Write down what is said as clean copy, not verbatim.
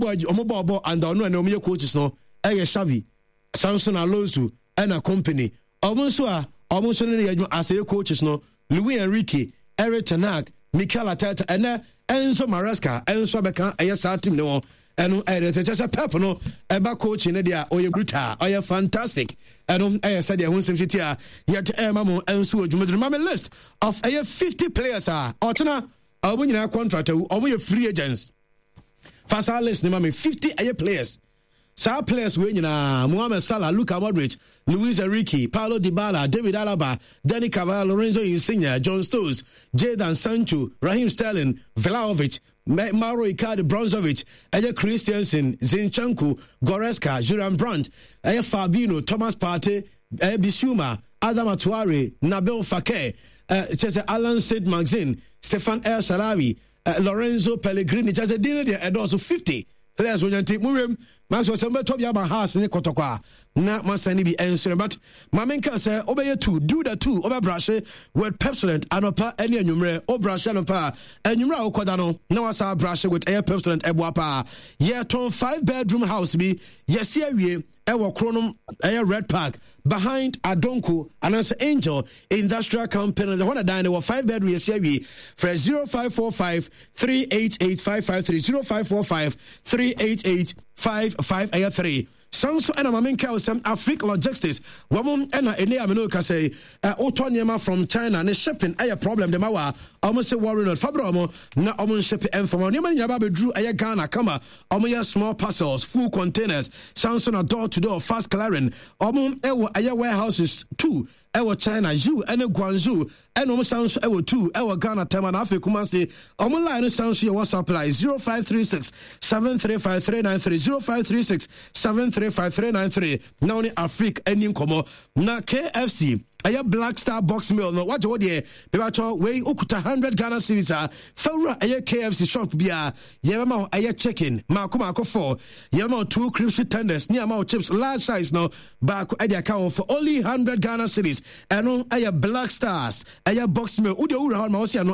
bɔ ɔmo bɔ ɔbɔ and ɔno ɛna ɔmo yɛ coaches no ɛyɛ Xavi, Samson Alonso ɛna company. Ɔmo nso a ɔmo nso ne yɛ adwuma as ɛyɛ coaches no, Luis Enrique, Erik ten Hag, Mikel Arteta, ɛnɛ Enzo Maresca ɛnso abɛka ɛyɛ saa team ne wɔn. Ɛno ɛyɛ deɛ kyɛ sɛ Pep no ɛba coaching no deɛ ɔyɛ brutal, ɔyɛ fantastic. Ɛno ɛyɛ sɛdeɛ ɛho nsɛm si a yɛde ɛma mo ɛnso wɔ dwumaduro. Ma me list of ɛyɛ 50 players a ɔtena ɔmo nyinaa contract awu, ɔmo yɛ free agents. Fa saa list ne ma me, 50 ɛyɛ players. Saa players wei nyinaa, Mohamed Salah, Luka Modric, Luis Enrique, Paulo Dybala, David Alaba, Dani Carvajal, Lorenzo Insigne, John Stones, Jadon Sancho, Raheem Sterling, Vlahovic, Mauro Icardi, Brozovic, ɛyɛ Christensen, Zinchenko, Goretzka, Julian Brandt, ɛyɛ Fabinho, Thomas Partey, ɛyɛ Bissouma, Adama Traore, Nabil Fekir, kyerɛ sɛ Alan Saint-Maximin, Stefan El Shaarawy, Lorenzo Pellegrini, kyerɛ sɛ din no deɛ ɛdɔɔso, 50 players wɔnya nti mowiem maxwell sɛ mobɛtɔ bi ama has ne kɔtɔkɔ a na masan ne bi ɛnsere. But ma menka sɛ wobɛyɛ two, do the two, wobɛbrahye with Pepsodent anɔpa ne anwummerɛ. Wobrahye anɔpa a, anwummerɛ a wokɔda no na wasa brahye with ɛyɛ Pepsodent. Ɛboa paa. Yɛtɔn 5 bedroom house bi, yɛsi awie ɛwɔ Kronom, ɛyɛ Red Park behind Adonko anaasɛ Angel Industrial Company ɛhɔ na dan no wɔ, 5 bedroom, yɛsi awie. Frɛ 0545 388 553, 0545 388 55 ɛyɛ 3. San so ɛna maame nka sɛm Afric Logistics wɔn ɛna ɛne amino kasa yi. Wotɔ nneɛma from China ne shipping ɛyɛ problem de ma wa, wɔn sɛ worry not, fabra wɔn na wɔn nship ɛnfam nneɛma no nyinaa ba abɛduru ɛyɛ Ghana kama. Wɔn yɛ small parcels, full containers, san so na door to door fast clearing. Wɔn ɛwɔ ɛyɛ warehouses two ɛwɔ China, Yiwu ɛne Guangzhou, ɛna wɔn san so ɛwɔ two ɛwɔ Ghana, Tema na afei Kumasi. Wɔn line no san so yɛ WhatsApp line 0536 735 393, 0536 735 393, na wɔne Afrik ani nkɔmɔ. Na KFC ɛyɛ Black Star box meal no, wagye wo deɛ bɛbɛtɔ wei, wokuta 100 Ghana cedis a, fawura ɛyɛ KFC shop biara, yɛbɛma wo ɛyɛ chicken maako maako four, yɛbɛma wo two crispy tenders ne ama wo chips large size no baako ɛde aka ho for only 100 Ghana cedis. Ɛno ɛyɛ Black Stars ɛyɛ box meal. Wode wowura hɔ ma wo sɛ ɛno.